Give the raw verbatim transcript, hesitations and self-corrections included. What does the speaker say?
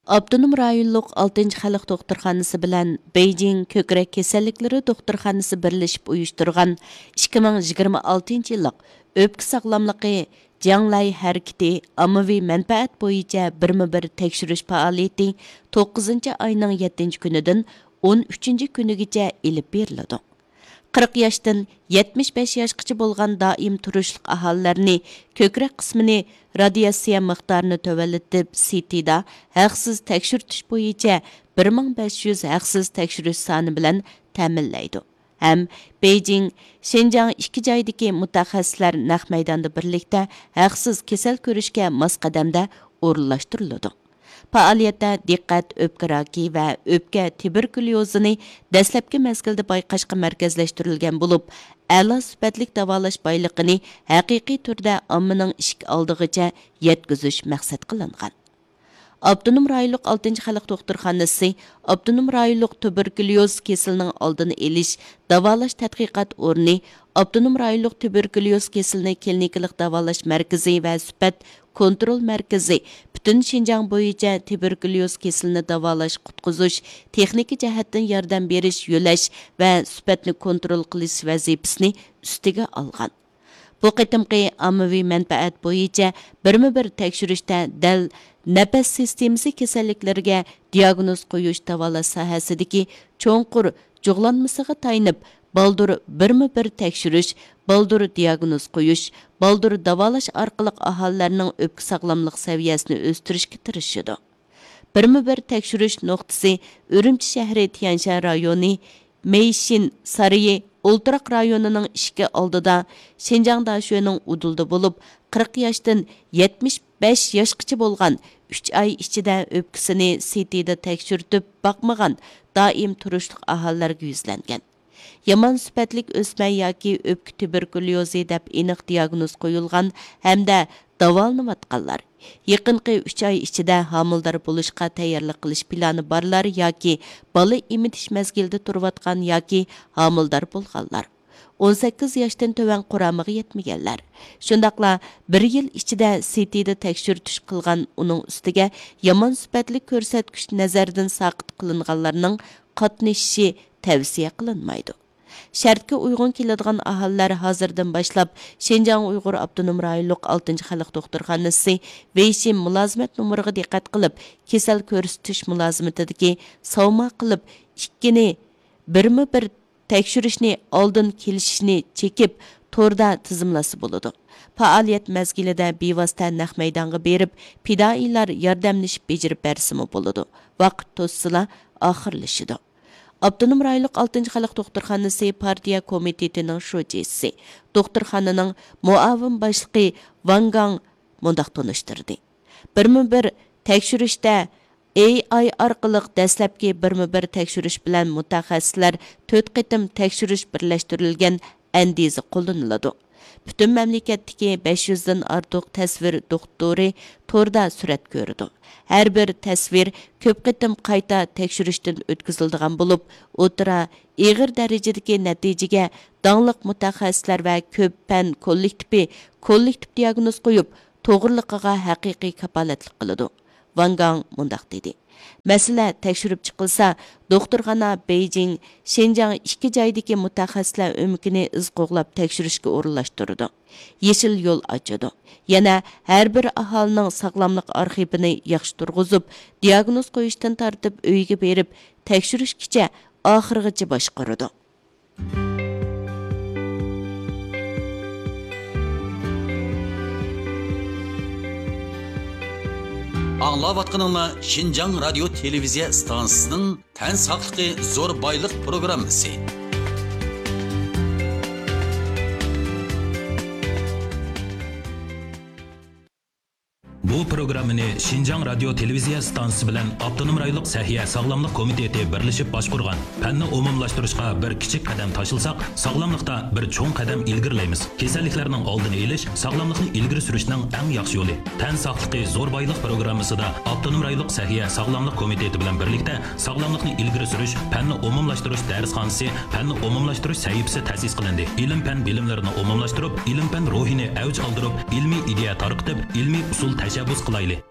ئاپتونوم رايونلۇق ئالتىنچى خەلق دوختۇرخانىسى بىلەن بېيجىڭ كۆكرەك كېسەللىكلىرى دوختۇرخانىسى بىرلىشىپ ئۇيۇشتۇرغان ئىككى مىڭ يىگىرمە ئالتىنچى يىللىق ئۆپكە ساغلاملىقى جياڭلاي ھەرىكىتى ئاممىۋى مەنپەئەت بويىچە بىرمۇ بىر تەكشۈرۈش پائالىيىتى توققۇزىنچى ئاينىڭ يەتتىنچى كۈنىدىن ئون ئۈچىنچى كۈنىگىچە ئېلىپ بېرىلىدۇ. قىرىق ياشتىن يەتمىش بەش ياشقىچە بولغان دائىم تۇرۇشلۇق ئاھالىلەرنى كۆكرەك قىسمىنى رادىياتسىيە مىقدارىنى تۆۋەنلىتىپ، سىتىدا ھەقسىز تەكشۈرتۈش بويىچە بىر مىڭ بەش يۈز ھەقسىز تەكشۈرۈش سانى بىلەن تەمىنلەيدۇ ھەم بېيجىڭ، شىنجاڭ ئىككى جايدىكى مۇتەخەسسىسلەر نەق مەيداندا بىرلىكتە ھەقسىز كېسەل كۆرۈشكە ماس قەدەمدە ئورۇنلاشتۇرۇلىدۇ. پائالىيەتتە دىققەت ئۆپكە راكى ۋە ئۆپكە تۇبېركۇليوزىنى دەسلەپكى مەزگىلدە بايقاشقا مەركەزلەشتۈرۈلگەن بولۇپ، ئەلا سۈپەتلىك داۋالاش بايلىقىنى ھەقىقىي تۈردە ئاممىنىڭ ئىشىك ئالدىغىچە يەتكۈزۈش مەقسەت قىلىنغان. ئاپتونوم رايونلۇق ئالتىنچى خەلق دوختۇرخانىسى، ئاپتونوم رايونلۇق تۇبېركۇليوز كېسىلىنىڭ ئالدىنى ئېلىش، داۋالاش تەتقىقات ئورنى، ئاپتونوم رايونلۇق تۇبېركۇليوز كېسىلىنى كلىنىكىلىق داۋالاش مەركىزى ۋە سۈپەت كونترول مەركىزى پۈتۈن شىنجاڭ بويىچە تۇبېركۇليوز كېسىلىنى داۋالاش، قۇتقۇزۇش، تېخنىكا جەھەتتىن ياردەم بېرىش، يۆلەش ۋە سۈپەتنى كونترول قىلىش ۋەزىپىسىنى ئۈستىگە ئالغان. بۇ قېتىمقى ئاممىۋى مەنپەئەت بويىچە بىرمۇ بىر تەكشۈرۈشتە دەل نەپەس سىستېمىسى كېسەللىكلىرىگە دىياگنوز قويۇش داۋالاش ساھەسىدىكى چوڭقۇر جۇغلانمىسىغا تايىنىپ، بالدۇر بىرمۇ بىر تەكشۈرۈش، بالدۇر دىياگنوز قويۇش، بالدۇر داۋالاش ئارقىلىق ئاھالىلەرنىڭ ئۆپكە ساغلاملىق سەۋىيەسىنى ئۆستۈرۈشكە تىرىشىدۇ. بىرمۇ بىر تەكشۈرۈش نۇقتىسى ئۈرۈمچى شەھىرى تيەنشەن رايونى مېيشىن سارىيى ئولتۇراق رايونىنىڭ ئىشىكى ئالدىدا شىنجاڭ داشۆنىڭ ئۇدۇلىدا بولۇپ، قىرىق ياشتىن يەتمىش بەش ياشقىچە بولغان، ئۈچ ئاي ئىچىدە ئۆپكىسىنى سىتىدا تەكشۈرتۈپ باقمىغان دائىم تۇرۇشلۇق ئاھالىلەرگە يۈزلەنگەن. يامان سۈپەتلىك ئۆسمە ياكى ئۆپكە تۇبېركۇليوزى دەپ ئېنىق دىياگنوز قويۇلغان ھەمدە داۋالىنىۋاتقانلار، يېقىنقى ئۈچ ئاي ئىچىدە ھامىلىدار بولۇشقا تەييارلىق قىلىش پىلانى بارلار ياكى بالا ئېمىتىش مەزگىلىدە تۇرۇۋاتقان ياكى ھامىلىدار بولغانلار، ئون سەككىز ياشتىن تۆۋەن قۇرامىغا يەتمىگەنلەر، شۇنداقلا بىر يىل ئىچىدە سىتىدا تەكشۈرتۈش قىلغان، ئۇنىڭ ئۈستىگە يامان سۈپەتلىك كۆرسەتكۈچ نەزەردىن ساقىت قىلىنغانلارنىڭ قاتنىشىشى تەۋسىيە قىلىنمايدۇ. شەرتكە ئۇيغۇن كېلىدىغان ئاھالىلەر ھازىردىن باشلاپ شىنجاڭ ئۇيغۇر ئاپتونوم رايونلۇق ئالتىنچى خەلق دوختۇرخانىسى ۋېيشىن مۇلازىمەت نومۇرىغا دىققەت قىلىپ، كېسەل كۆرسىتىش مۇلازىمىتىدىكى ساۋما قىلىپ ئىككىنى بىرمۇ بىر تەكشۈرۈشنى ئالدىن كېلىشىشنى چېكىپ، توردا تىزىملاتسا بولىدۇ. پائالىيەت مەزگىلىدە بىۋاسىتە نەق مەيدانغا بېرىپ، پىدائىيلار ياردەملىشىپ بېجىرىپ بەرسىمۇ بولىدۇ. ۋاقىت توشسىلا ئاخىرلىشىدۇ. ئاپتونوم رايونلۇق ئالتىنچى خەلق دوختۇرخانىسى پارتىيە كومىتېتىنىڭ شۇجىسى، دوختۇرخانىنىڭ مۇئاۋىن باشلىقى ۋاڭ گاڭ مۇنداق تونۇشتۇردى: بىرمۇ بىر تەكشۈرۈشتە ئېي ئاي ئارقىلىق دەسلەپكى بىرمۇ بىر تەكشۈرۈش بىلەن مۇتەخەسسىسلەر تۆت قېتىم تەكشۈرۈش بىرلەشتۈرۈلگەن ئەندىزە قوللىنىلىدۇ. پۈتۈن مەملىكەتتىكى بەش يۈزدىن ئارتۇق تەسۋىر دوختۇرى توردا سۈرەت كۆرىدۇ. ھەر بىر تەسۋىر كۆپ قېتىم قايتا تەكشۈرۈشتىن ئۆتكۈزۈلىدىغان بولۇپ، ئوتتۇرا، ئېغىر دەرىجىدىكى نەتىجىگە داڭلىق مۇتەخەسسىسلەر ۋە كۆپ پەن كوللېكتىپى كوللېكتىپ دىياگنوز قويۇپ، توغرىلىقىغا ھەقىقىي كاپالەتلىك قىلىدۇ. ۋاڭ گاڭ مۇنداق دېدى: مەسىلە تەكشۈرۈپ چىقىلسا، دوختۇرخانا بېيجىڭ، شىنجاڭ ئىككى جايدىكى مۇتەخەسسىسلەر ئۆمىكىنى ئىز قوغلاپ تەكشۈرۈشكە ئورۇنلاشتۇرىدۇ، يېشىل يول ئاچىدۇ. يەنە ھەر بىر ئاھالىنىڭ ساغلاملىق ئارخىپىنى ياخشى تۇرغۇزۇپ، دىياگنوز قويۇشتىن تارتىپ ئۆيىگە بېرىپ تەكشۈرۈشكىچە ئاخىرغىچە باشقۇرىدۇ. ئاڭلاۋاتقىنىڭلار شىنجاڭ رادىيو تېلېۋىزىيە ئىستانسىسىنىڭ تەن ساقلىقى زور بايلىق پروگراممىسى. بۇ پروگراممىنى شىنجاڭ رادىيو تېلېۋىزىيە ئىستانسىسى بىلەن ئاپتونوم رايونلۇق سەھىيە ساغلاملىق كومىتېتى بىرلىشىپ باشقۇرغان. پەننى ئومۇملاشتۇرۇشقا بىر كىچىك قەدەم تاشلىساق، ساغلاملىقتا بىر چوڭ قەدەم ئىلگىرىلەيمىز. كېسەللىكلەرنىڭ ئالدىنى ئېلىش، ساغلاملىقنى ئىلگىرى سۈرۈشنىڭ ئەڭ ياخشى يولى. تەن ساقلىقى زور بايلىق پروگراممىسىدا ئاپتونوم رايونلۇق سەھىيە ساغلاملىق كومىتېتى بىلەن بىرلىكتە ساغلاملىقنى ئىلگىرى سۈرۈش، پەننى ئومۇملاشتۇرۇش دەرسخانىسى، پەننى ئومۇملاشتۇرۇش سەھىپىسى تەسىس قىلىندى. ئىلىم-پەن بىلىملىرىنى ئومۇملاشتۇرۇپ، ئىلىم-پەن روھىنى ئەۋج ئالدۇرۇپ، ئىلمىي ئىدىيە تارقىتىپ، ئىلمىي ئۇسۇل تەشەببۇس قىلايلى.